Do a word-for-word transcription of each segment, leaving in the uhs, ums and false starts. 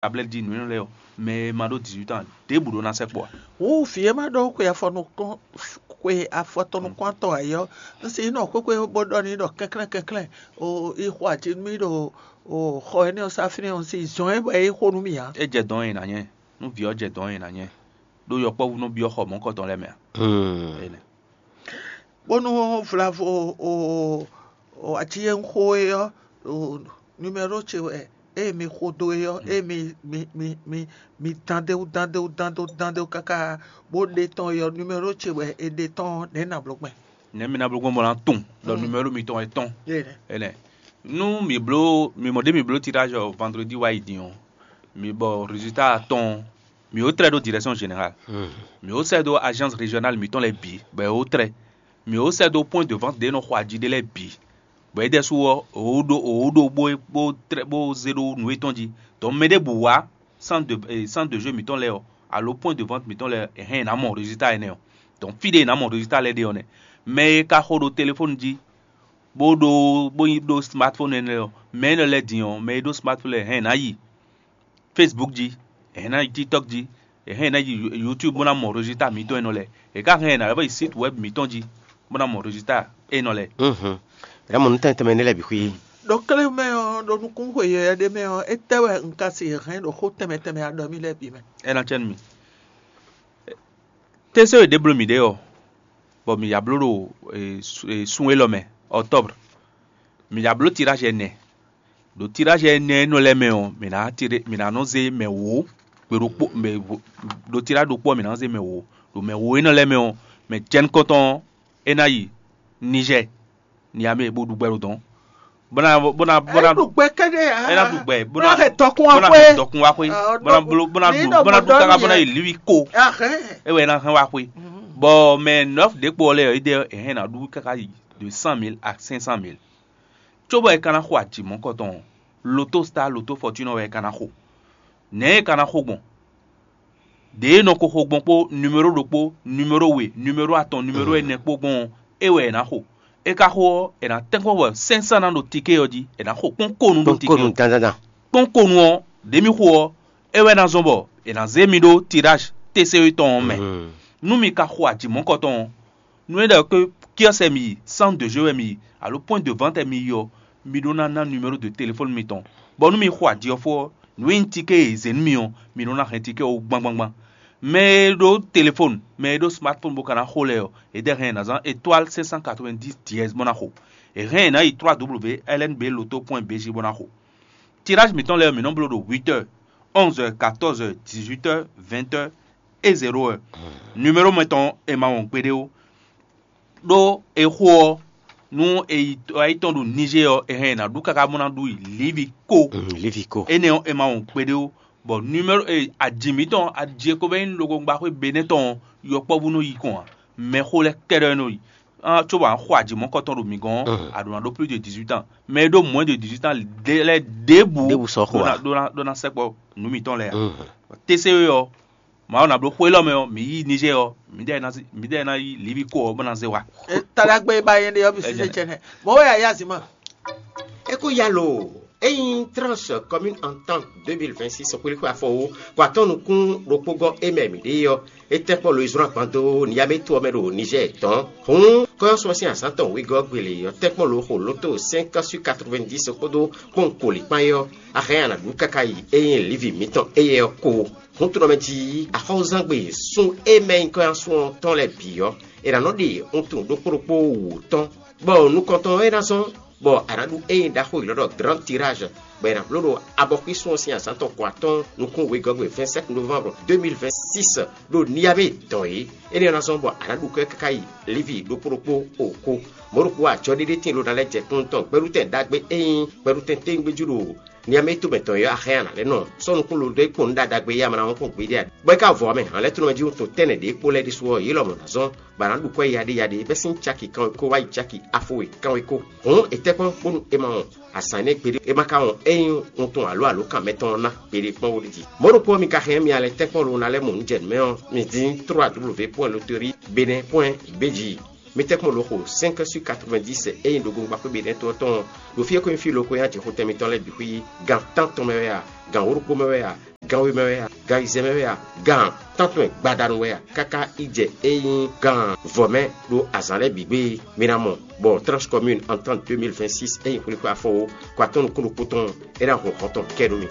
tablɛ́ti jí nǔ énɛ́ lɛ́ɛ ɔ́, mɛ e ma ɖó dix-huit ans ɖěbǔ ɖó ná sɛkpɔ ǎ. Wǔ vǐ e ma ɖó xwe afɔnukɔn xwe afɔtɔn nukún atɔn ǎ é ɔ́, un si nɔ xwéxwé bó ɖɔ n'i ɖɔ kɛnklɛ́n kɛnklɛ́n, o yi xo aci nú mì ɖo o xɔ énɛ́ ɔ́ sá fínɛ́ ɔ́, un si zɔn ɛ bɔ é xo nú mì ǎ. É jɛ dɔn e nǎ nyɛ, nú vǐ ɔ́ jɛ dɔn e nǎ nyɛ, ɖó yɔkpɔ́vú nɔ byɔ́ xɔ mɔ̌hunkɔtɔn lɛ́ɛ mɛ ǎ. Énɛ́. Bónú vlavo o o aci e un xo é ɔ́, o numéro ce wɛ ée mi xo dó é ɔ́, ée mi mi mi mi mi dán dé wú dán dé wú dán dó dán dé wú káká bó ɖe tɔn é ɔ́, numéro ce wɛ è ɖe tɔn ɔ́, nɛ̌ nǎ bló gbɛn? Nɛ̌ mi ná bló gbɔn bɔ ná tunwun ɖɔ numéro mitɔn wɛ tɔn? Énɛ́. Énɛ́. Nú mǐ bló mǐ mɔ ɖě mǐ bló tirage ɔ́ vendredi wá yi din ɔ́, mǐ bɔ résultat tɔn ɔ́, mǐ ó trɛ́ ɖó direction générale. Mǐ ó sɛ́ dó agence régionale mǐtɔn lɛ́ɛ bǐ, bɔ è ó trɛ́. Mǐ ó sɛ́ dó point de vente ɖě e nɔ xo aji ɖé lɛ́ɛ bǐ, bɔ é ɖɛ́sú ɔ́, è ó ɖó è ó ɖó bó bó trɛ́ bó zé ɖó nǔ étɔn jí. Donc mɛ ɖěbǔ wá centre de eh, centre de jeu mǐtɔn lɛ́ɛ ɔ́, alo point de vente mǐtɔn lɛ́ɛ ɔ́, è hɛn è nǎ mɔ résultat énɛ́ ɔ́. Donc fí ɖé è nǎ mɔ résultat lɛ́ɛ ɖe ɔ́ nɛ́. Mɛ e ka xo ɖo téléfonu jí, bó ɖó bó nyí ɖó smartphone énɛ́ lɛ́ɛ ɔ́, mɛ énɛ́ lɛ́ɛ din ɔ́, mɛ e ɖó smartphone lɛ́ɛ hɛn è nǎ yi Facebook jí, è hɛn ná yi TikTok jí, è hɛn ná yi YouTube bó ná mɔ résultat mǐtɔn énɛ́ lɛ́ɛ. È ka hɛn è nǎ lɛ́ vɔ yi site web mǐtɔn jí bó ná mɔ résultat énɛ́ lɛ́ɛ. Mhm. Mǐ ná mɔ nǔ tɛnmɛ tɛnmɛ énɛ́ lɛ́ɛ bǐ xwí. Ɖo klé mɛ ɔ́, ɖo nukúnxwe yɛyɛ ɖé mɛ ɔ́, étɛ́ wɛ un ka si hɛn ɖo xó tɛnmɛ tɛnmɛ aɖɔ mì lɛ́ɛ bǐ mɛ? É ná cɛ nú mì. Tɛ́sɛ́ e ɖě bló mǐ ɖe ɔ́, bɔ mǐ ya bló ɖo e, su- e, sun élɔ́ mɛ, octobre. Mǐ ya bló tirage ɛnɛ. Ɖo tirage ɛnɛ énɛ́ lɛ́ɛ mɛ ɔ́, mǐ ná tiré mǐ ná nɔ zé mɛ wǒ gbe ɖokpó mɛ wǒ- ɖo tirage ɖokpó ɔ́, mǐ ná nɔ zé mɛ wǒ. Ɖo mɛ wǒ énɛ́ lɛ́ɛ mɛ ɔ́, mɛ jɛnukɔntɔn ɔ́, é ná yi Niger, Niamey bó ɖu gbɛ ɖo dɔ̌n. Bó ná bó ná bó ná Ɖu gbɛ kɛ́ɖɛ́ ǎ. É ná ɖu gbɛ, bó Bó ná ná hɛn dɔkun bó wá ná xwé. Hɛn dɔkun wá xwé. Ah, Bó ná dɔkun. Blo bó ná Ní ɖu ɖɔ bó ná mɔ ɖu dɔnú káká bó ná yɛ. Yi liwi ko. Ahɛn. É wɛ é ná hɛn wá xwé. Bɔ mɛ nɔf ɖě kpo ɔ́ lɛ́ɛ ɔ́, é ɖe é hɛn ná ɖu káká yi de cent mille à cinq cent mille. Cóbɔ è ka ná xo ajǐ mɔ̌kɔtɔn ɔ́, loto star loto fortune wɛ è ka ná xo. Nɛ̌ è ka ná xo gbɔn? Ɖě e nɔ ko xo gbɔn kpó numéro ɖokpó, numéro we, numéro atɔn, numéro ɛnɛ kpó gbɔn ɔ́, é wɛ è nǎ xo. É ka xo ɔ́, è nǎ tɛ́nkpɔ́n bɔ sɛ́nsɛ́n ná ɖo tiké ɔ́ jí, è nǎ xo kpɔ́n konu ɖó tiké Kpɔ́nkɔnu ɔ́. Dandandan. Kpɔ́n konu ɔ́, ɖě mì xo ɔ́, é wɛ ná zɔ́n bɔ è nǎ zé mi ɖó tiráj T C E tɔn ɔ́ mɛ. Nú mi ka xo ajǐ mɔ̌kɔtɔn ɔ́, nú é ɖɔ ké kiɔ́sɛ mi yi, centre de jeu wɛ mi yi, alo point de vente mi yi ɔ́, mi ɖó ná ná numéro de téléphone mitɔn, bɔ nú mi xo aji ɔ́ fó ɔ́, nǔ e nyí tiké e è zě nú mi ɔ́, mi ɖó ná hɛn tiké ɔ́ wú gbangbangbán. Mɛ e ɖó téléphone, mɛ e ɖó smartphone bó ka ná xo lɛ́ɛ ɔ́, è ɖɛ hɛn è nǎ zán étoile cinq cent quatre-vingt-dix dièse bó ná xo. È hɛn è nǎ yi trois W L N B loto point B J bó ná xo. Tirage mǐtɔn lɛ́ɛ ɔ́, mǐ nɔ́ bló ɖo huit heures, onze heures, quatorze heures, dix-huit heures, vingt heures et zéro heure. Numéro mɛtɔn è ma wɔn gbeɖé ó. Ɖó è xo ɔ́, nú è yi tɔ yi tɔn ɖo Niger ɔ́, è hɛn è nǎ ɖu káká bó ná ɖu yi Livi ko. Mm, Livi ko. Énɛ́ ɔ́, è ma wɔn gbeɖé ó. Bɔ numéro e aji mǐtɔn aji e ko bɛ́ nyí logogbáxwé Benɛ́ tɔn ɔ́, yɔkpɔ́vú nɔ yi kɔn ǎ. Mɛxó lɛ́ɛ kɛ́ɖɛ́ nɔ yi. Cóbɔ a xo aji mɔ̌kɔtɔn ɖo mǐ gɔ́n ɔ́, a ɖǒ ná ɖó plus de dix-huit ans. Mɛ e ɖó moins de dix-huit ans ɖé lɛ́ɛ ɖěbǔ Ɖěbǔ sɔ́ xo ɖó ná ǎ. Ɖó ná ɖó ná sɛkpɔ nǔ mǐtɔn lɛ́ɛ ǎ. T C E ɔ́, Mawu ná bló xó élɔ́ mɛ ɔ́, mǐ yi Niger ɔ́, mǐdɛɛ ná zí- mǐdɛɛ ná yi Livi ko ɔ́ bó ná zé wá. Taɖagbe ba nyɛ ɖe ɔ́ bisi Ɛjɛ. Sɛ tsɛnɛ. Mɔ̌ wɛ ayazima. É kó ya lo ényí tranche commune entente deux mille vingt-six xwlíxwé afɔwo kó atɔ́ nukún ɖokpó gɔ́ é mɛ mǐ ɖe é ɔ́, é tɛ́ kpɔ́ lo yi zlɔ́n agban dó Niamey to ɔ́ mɛ ɖo Niger tɔn. Hǔn kɔ́yɔ́sɔ sín azǎn tɔn wegɔ́ gbele ɔ́ tɛ́ kpɔ́n lo xo lóto cinq sur quatre-vingt-dix kpódó kpɔ́n koli kpán é ɔ́, a hɛn a nǎ ɖu káká yi é nyí Livi mǐtɔn éyɛ́ ɔ́ ko. Huntunɔmɛ jí axɔ́zangbe sun e mɛ nyí kɔ́yásun ɔ́ tɔn lɛ́ɛ bǐ ɔ́, è nǎ nɔ ɖe wuntun ɖokpó ɖokpó wǔ tɔn, bɔ nukɔntɔn ɔ́ é ná zɔ́n, bɔ a nǎ ɖu ényí ɖaxó élɔ́ ɖɔ Grand Tirage, bɔ è nǎ bló ɖo abɔxwísun ɔ́ sín azǎn tɔn kɔ atɔ́ɔ́n nukún wegɔ́gbe vingt-sept novembre deux mille vingt-six ɖo Niamey dɔn é. Énɛ́ ɔ́ ná zɔ́n bɔ a nǎ ɖu kɔ́ káká yi Livi ɖokpó ɖokpó o ko. Mɔ̌ ɖokpó ajɔ̌ɖéɖé tíin ló ná lɛ́ jɛ kúnnu tɔn gbɛɖutɛn ɖagbe e nyí gbɛɖutɛn téwúngbéjú ɖo Niamey tomɛ tɔn ɔ́, a hɛn a nǎ lɛ́ nɔ sɔ́ nukún lo dó é kpɔn nǔ ɖaɖagbe e ama ná wɔn kpɔ́n gbeɖé ǎ. Bɔ é ka vɔ ɔ́ mɛ, hǎnlɛ́tɔ́nɔmɛjí wuntun tɛ́nnɛ ɖě kpó lɛ́ɛ ɖésú ɔ́, yě lɔmɔ̌ ná zɔ́n, bɔ a nǎ ɖu kwɛ́ yaɖéyaɖé bɛ́ sín caki kanwekó wá yi caki afɔwe kanwekó. Hǔn è tɛ́ kpɔ́n bónú è ma wɔn azǎn énɛ́ gbeɖé, è ma ka wɔn ényí wuntun alo alǒkan mɛtɔn ɔ́ ná gbeɖé kpɔ́n wóɖíji. Mɔ̌ ɖokpó ɔ́, mi ka hɛn mì alɛ tɛ́nkpɔ́n lo ná lɛ́ mɔ nǔ jɛ nǔ mɛ ɔ́, mi dín trois W point loterie Benin point B J. Mi tɛ́nkpɔ́n lǒ xo cinq sur quatre-vingt-dix e nyí ɖogbongba xwé Benɛ́ɛ to ɔ́ tɔn ɖo fí e ko nyí fí loko e nyí ajixotɛn mitɔn lɛ́ɛ bǐ xwí. Gan tántɔn mɛ wɛ a? Gan wǒ ɖokpó mɛ wɛ a? Gan we mɛ wɛ a? Gan ayizɛ́n mɛ wɛ a? Gan tántɔn e gbadanu wɛ a? Káká yi jɛ e nyí gan vɔ̌ mɛ ɖo azǎn lɛ́ɛ bǐ gbe. Mi ná mɔ bɔ Tranche Commune Entente deux mille vingt-six e nyí xwlíxwé afɔwó ko atɔ́ nukún ɖokpó tɔn é ná hun hɔn tɔn kɛ nú mi.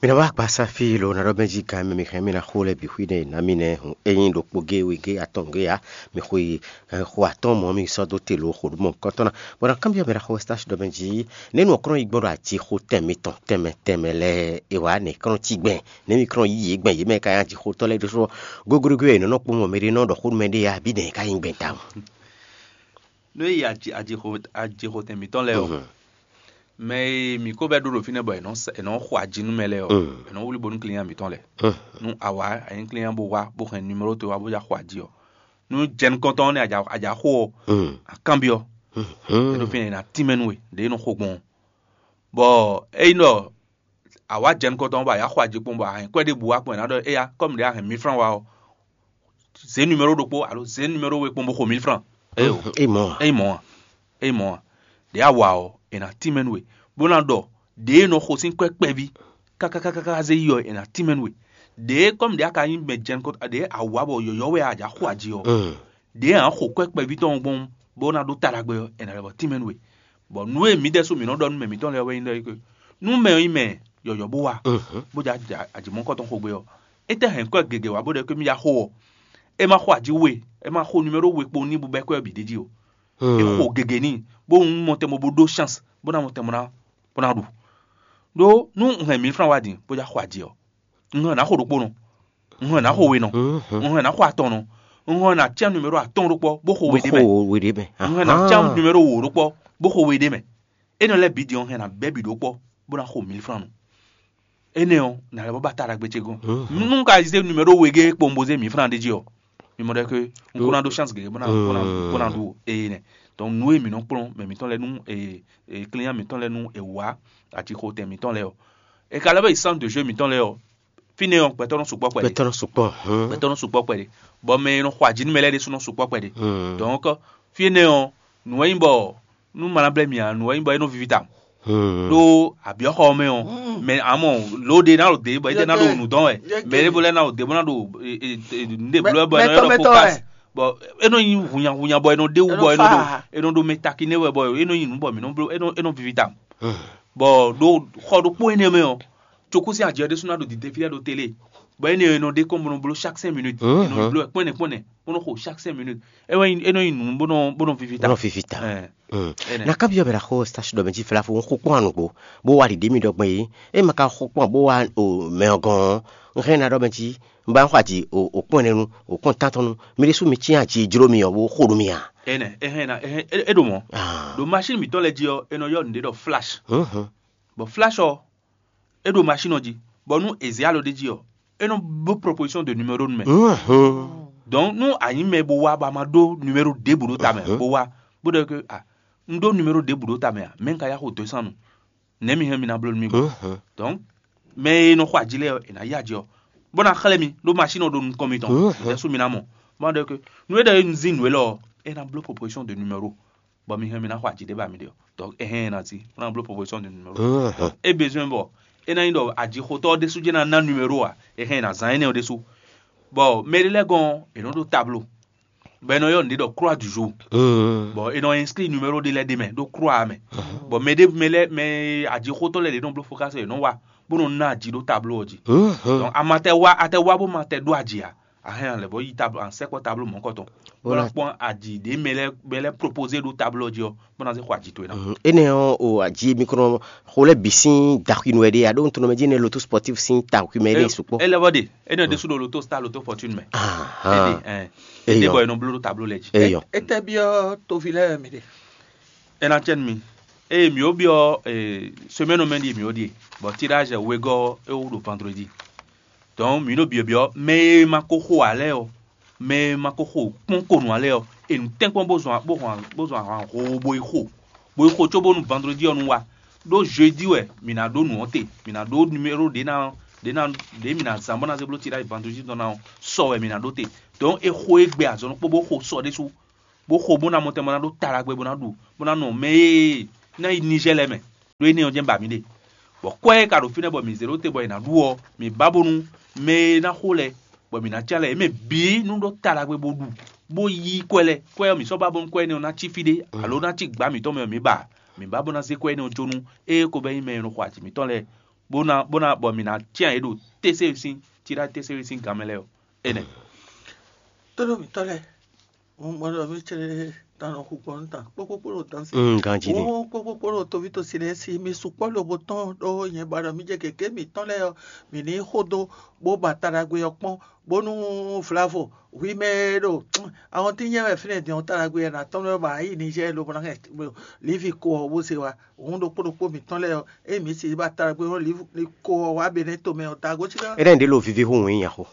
Mi ná wá akpasa fí lo ná ɖɔ mɛ jí gan mɛ mi hɛn mi ná xo lɛ bǐ xwí nɛ ná mi nɛ hun ényí ɖokpó gé we gé atɔn gé ya mi xo yi xo atɔn mɔ mi sɔ́ dó te lo xo ɖo mɔ kɔtɔn ná bɔ ná kanbyɔ mi ná xo stage ɖɔ mɛ jí nɛnu ɔkrɔn yi gbɔn ɖo ajixo tɛn mitɔn tɛnmɛ tɛnmɛ lɛ e wǎ nɛ krɔn cí gbɛn nɛ mi krɔn yí yě gbɛn yě mɛ ka nyi ajixotɔ́ lɛ́ɛ ɖésú gogoɖogo e nɔ́ kpɔ́n mɛ ɖé nɔ ɖɔ xó nú mɛ ɖé ya bí nɛ̌ ka nyí gbɛn tawun. Nú é yi ajixo ajixotɛn mǐtɔn lɛ́ɛ ɔ́, mɛ e mǐ ko vɛ́ ɖó ɖo fínɛ́ bɔ è nɔ́ xo aji nú mɛ lɛ́ɛ ɔ́, è nɔ́ wlí bo nú client mǐtɔn lɛ́ɛ. Nú a wǎ a nyí client bó wá bó hɛn numéro towe wá bó já xo aji ɔ́, nú jɛ nukɔntɔn ɔ́ nɛ́ a jǎ xo ɔ́, a kanbyɔ́, é ɖo fínɛ́ è nǎ tínmɛ nú we ɖě e nɔ xo gbɔn ɔ́. Bɔ ényí ɖɔ a wǎ jɛ nukɔntɔn bɔ a yǎ xo aji kpɔ́n bɔ a hɛn kwɛ́ ɖěbǔ wá kpɔ́n è nǎ ɖɔ éyá kɔ́ mǐ ɖě a hɛn mil franc wá ɔ́, zě numéro ɖokpó alo zě numéro we kpɔ́n bó xo mil franc. Éyo, é mɔ a? É mɔ a? É mɔ a? Ɖě a wa ɔ́, è nǎ tínmɛ nú we, bó ná ɖɔ ɖě e nɔ xo sín kwɛ́ kpɛví káká káká zé yi ɔ́, è nǎ tínmɛ nú we. Ɖě kɔ́ mǐ ɖě a ka nyí mɛ jɛnukɔ́ ɖě a wǎ bɔ yɔ̌yɔ́ wɛ a jǎ xo aji ɔ́, ɖě a nǎ xo kwɛ́ kpɛví tɔn gbɔn bó ná ɖó ta ɖagbe ɔ́, è nǎ lɛ́ bɔ tínmɛ nú we. Bɔ nǔ e mǐ ɖésú mǐ nɔ ɖɔ nú mɛ mǐtɔn lɛ́ɛ wɛ nyí ɖɔ é ke nú mɛ ɔ́ nyí mɛ yɔ̌yɔ́ bó wa, bó jɛ ajǐmɔ́kɔ tɔn xo gbé ɔ́, étɛ́ hɛn kwɛ́ gěgé wá bó ɖɔ é ke mì ya xo ɔ́, é ma xo aji we, é ma xo numéro we kpowun n'i bó bɛ́ kwɛ́ ɔ́ bǐ d'é jí o. É xo gěgé n'i, bó un mɔ tɛn bó bó ɖó chance bó ná mɔ tɛn bó ná bó ná ɖu. Ɖó nú un hɛn mǐ flan wá din bó já xo aji ɔ́, un hɛn nǎ xo ɖokpónɔ, un hɛn nǎ xo wenɔ, un hɛn nǎ xo atɔnnɔ, un hɛn nǎ cyán numéro atɔ́ɔ́n ɖokpɔ́ bó xo we ɖ'é mɛ, un hɛn nǎ cyán numéro wǒ ɖokpɔ́ bó xo we ɖ'é mɛ. Énɛ́ lɛ́ɛ bǐ din ɔ́, un hɛn nǎ bɛ́ bǐ ɖokpɔ́ bó ná xo mǐ flan nu. Énɛ́ ɔ́, nǎ lɛ́ bɔ ba ta ɖagbe ce gɔ́n. Nú un ka zé numéro wegé kpowun bó zé mǐ flan ɖ'é jí ɔ́, mi mɔ ɖɔ ke un kó ná ɖó chance gěgé bó ná bó ná bó ná ɖu eye nɛ. Donc nǔ e mǐ nɔ kplɔ́n mɛ mǐtɔn lɛ́ɛ nú e e client mǐtɔn lɛ́ɛ nú è wǎ atixotɛn mǐtɔn lɛ́ɛ ɔ́, è ka lɛ́ bɔ yi centre de jeu mǐtɔn lɛ́ɛ ɔ́, fínɛ́ ɔ́, gbɛtɔ́ nɔ sukpɔ́ kpɛɖé. Gbɛtɔ́ nɔ sukpɔ́. Gbɛtɔ́ nɔ sukpɔ́ kpɛɖé. Bɔ mɛ e nɔ xɔ aji nú mɛ lɛ́ɛ ɖésú nɔ sukpɔ́ kpɛɖé. Donc fínɛ́ ɔ́, nǔ e nyí bɔ nú ma ná blɛ́ mì ǎ, nǔ e nyí bɔ é nɔ víví tawun. Ɖó abyɔ́xɔ ɔ́ mɛ ɔ́, mɛ amɔ lǒ ɖé ná ɖo dě bɔ é ná ɖo nǔ dɔn wɛ, mɛ ɖěvo lɛ́ɛ ná ɖo dě bó ná ɖo nǔɖé bló wɛ bɔ é nɔ ylɔ́ ɖɔ focus. Bɔ é nɔ nyí hunyahunya bɔ é nɔ ɖe wú bɔ é nɔ ɖo é nɔ ɖo mɛ takiné wɛ bɔ é nɔ nyí nǔ bɔ mǐ nɔ bló é nɔ é nɔ víví tawun. Bɔ ɖo xɔ ɖokpó énɛ́ mɛ ɔ́, cokúsi ajɛ ɖésú ná ɖo dǐdé fí lɛ́ɛ ɖo télé, bɔ énɛ́ e nɔ ɖe kɔn bó nɔ bló chaque cinq minutes, é nɔ bló wɛ kpɔ́nɛ kpɔ́nɛ bó nɔ xo chaque cinq minutes. É wɛ é nɔ nyí nǔ bó nɔ bó nɔ víví ta. Bó nɔ víví ta. Ɛn, ɛnɛ. Na kábíyɔ bɛ ɖaxó stage ɖɔ mɛ jí fɛlá fo xó kpɔ́n anugbo bó wá ɖiɖe mi ɖɔ gbɔn yìí. É ma ka xó kpɔ́n bó wá o mɛ ɔ́ gɔ́n ɔ́, un hɛn ná ɖɔ mɛ jí un ba xɔ aji o kpɔ́n ɛnɛ nu o kpɔ́n tántɔn nu. Mi ɖésú mi cyán aji e jló mi ɔ́ bó xo nú mi a? Ɛnɛ, é hɛn ná é hɛn é ɖo mɔ̌. Ɖo machine mǐtɔn lɛ́ɛ jí ɔ́, é nɔ ylɔ́ nǔɖé ɖɔ flash. Bɔ flash ɔ́, é ɖo machine ɔ́ jí, bɔ nú è zě alɔ ɖ'é jí ɔ́, é nɔ bló proposition de numéro nú mɛ. Donc nú a nyǐ mɛ bó wá bɔ a ma ɖó numéro ɖěbǔ ɖó ta mɛ bó wá, bó ɖɔ ke a un ɖó numéro ɖěbǔ ɖó ta mɛ a, mɛ̌ un ka yá xo dɔ̌n sín nu? Nɛ̌ mi hɛn mi ná bló nú mì gbɔn? Donc mɛ e nɔ xɔ aji lɛ́ɛ ɔ́, è nǎ yí aji ɔ́, bó ná xlɛ́ mi ɖó machine ɔ́ ɖo nukɔn mitɔn, mǐtɛ́ sú mi ná mɔ. Bó ná ɖɔ ke nú é ɖɔ é un zín nǔ élɔ́ ɔ́, é ná bló proposition de numéro. Bɔ mi hɛn mi ná xɔ aji ɖé ba mi ɖe ɔ́, donc é hɛn ɛ ná cí bó ná bló proposition de numéro. Donc é besoin bɔ é ná nyí ɖɔ ajixotɔ́ ɔ́ ɖésú jɛ́n ná ná numéro a, é hɛn ɛ ná zán énɛ́ ɔ́ ɖésú. Bɔ mɛ ɖé lɛ́ɛ gɔ́n ɔ́, è nɔ ɖó tablo, bɔ è nɔ ylɔ́ nǔɖé ɖɔ croix du jour. Bɔ è nɔ inscrit numéro ɖé lɛ́ɛ ɖ'é mɛ ɖó croix ɔ́ mɛ. Bɔ mɛ ɖé mɛ lɛ́ɛ mɛ ajixotɔ́ lɛ́ɛ ɖě nɔ bló focus è nɔ wa bó nɔ ná aji ɖó tablo ɔ́ jí. Donc a ma tɛ wá a tɛ wá bó ma tɛ ɖó aji ǎ, a hɛn a lɛ̌ bɔ yi tablo a sɛkpɔ tablo mɔ̌kɔtɔn bó ná kpɔ́n aji ɖě mɛ lɛ́ɛ mɛ lɛ́ɛ proposé ɖó tablo ɔ́ jí ɔ́, bó ná zé xɔ aji towe ná. Énɛ́ ɔ́, o aji mi kɔnɔ xo lɛ́ bǐ sín daxwinu wɛ ɖe a ɖó nutɔnɔ mɛ jí nɛ́ loto sportif sín daxwi mɛ ɖe sukpɔ́. Élève ɖe, énɛ́ ɖésú ɖo loto star loto fortune mɛ. Éɖe ɛn éɖe bɔ è nɔ bló ɖó tablo lɛ́ɛ jí. Eyɔ. Étɛ́ byɔ́ toví lɛ́ɛ mi ɖe? É ná cɛ́ nú mi. Eye mǐ ó byɔ́ semaine mɛ ɖíe mǐ ó ɖíe, bɔ tirage wegɔ́ é wú ɖo vendredi. Donc mǐ ɖo byɔ̌byɔ́ mɛ e ma ko xo ǎ lɛ́ɛ ɔ́, mɛ e ma ko xo kpɔ́n ko nǔ ǎ lɛ́ɛ ɔ́, è nǔ tɛ́nkpɔ́n bó zɔn bó hɔn bó zɔn ahwan hoo bó yi xo, bó yi xo cóbónú vendredi ɔ́ nu wá. Ɖó jeudi wɛ mǐ ná ɖó nǔ ɔ́ te, mǐ ná ɖó numéro ɖě ná ɖě ná ɖě mǐ ná zán bó ná zé bló tiɖáyi vandújí tɔn ná ɔ́, sɔ wɛ mǐ ná ɖó te. Donc é xo égbé azɔn ɖokpó bó xo sɔ ɖésú, bó xo bó ná mɔ tɛn bó ná ɖó ta ɖagbe bó ná ɖu, bó ná nɔ mɛ e ná yi Nizɛ́ɛ lɛ́ɛ mɛ, ɖó énɛ́ ɔ́ jɛ́n ba mǐ ɖe. Bɔ kwɛ́ e ka ɖo fínɛ́ bɔ mǐ zé ɖó te bɔ è nǎ ɖu ɔ́, mǐ ba bónú mɛ e ná xo lɛ́ɛ bɔ mǐ ná cí alɛ yě mɛ bǐ nú ɖó ta ɖagbe bó ɖu, bó yí kwɛ́ lɛ́ɛ. Kwɛ́ ɔ́, mǐ sɔ́ ba bónú kwɛ́ énɛ́ ɔ́ ná cí fí ɖé, alo ná cí gbǎ mǐtɔn mɛ ɔ́, mǐ ba mǐ ba bó ná zé kwɛ́ énɛ́ ɔ́ jó nú ée ko bɛ́ nyí mɛ e nɔ xo aji mǐtɔn lɛ́ɛ, bó ná bó ná bɔ mǐ ná cyán yě ɖo tésewusín, tiɖá tésewusín gan mɛ lɛ́ɛ ɔ́. Énɛ́. Tónú mǐtɔn lɛ́ɛ, un mɔ ɖɔ mí cɛ́ tán nɔ xu gbɔn nú tán kpókpókpó ɖo tán sí. Mm, ganjí ni. Wó kpókpókpó ɖo toví tosi lɛ́ɛ sí, mi sukpɔ́ lobo tɔn ɖó nyɛ ba ɖɔ mí jɛ gěgé mǐtɔn lɛ́ɛ ɔ́, mǐ ní xo dó bó ba ta ɖagbe ɔ́ kpɔ́n, bónú vlavo hwi mɛ e ɖo awɔntín nyɛ wɛ fínɛ́ din ɔ́, ta ɖagbe ɔ́ ná tɔ́n lɛ́ɛ ba yi Nizɛ́ɛ lobo ná hɛn Livi ko ɔ́ bó se wá. Hǔn ɖokpó ɖokpó mǐtɔn lɛ́ɛ ɔ́, ée mǐ si ba ta ɖagbe ɔ́, Livi ko ɔ́ wá Benɛ́ tomɛ ɔ́, da gǒ cí ká. Énɛ́ ɖě lo viví hú wǐn nyaxo.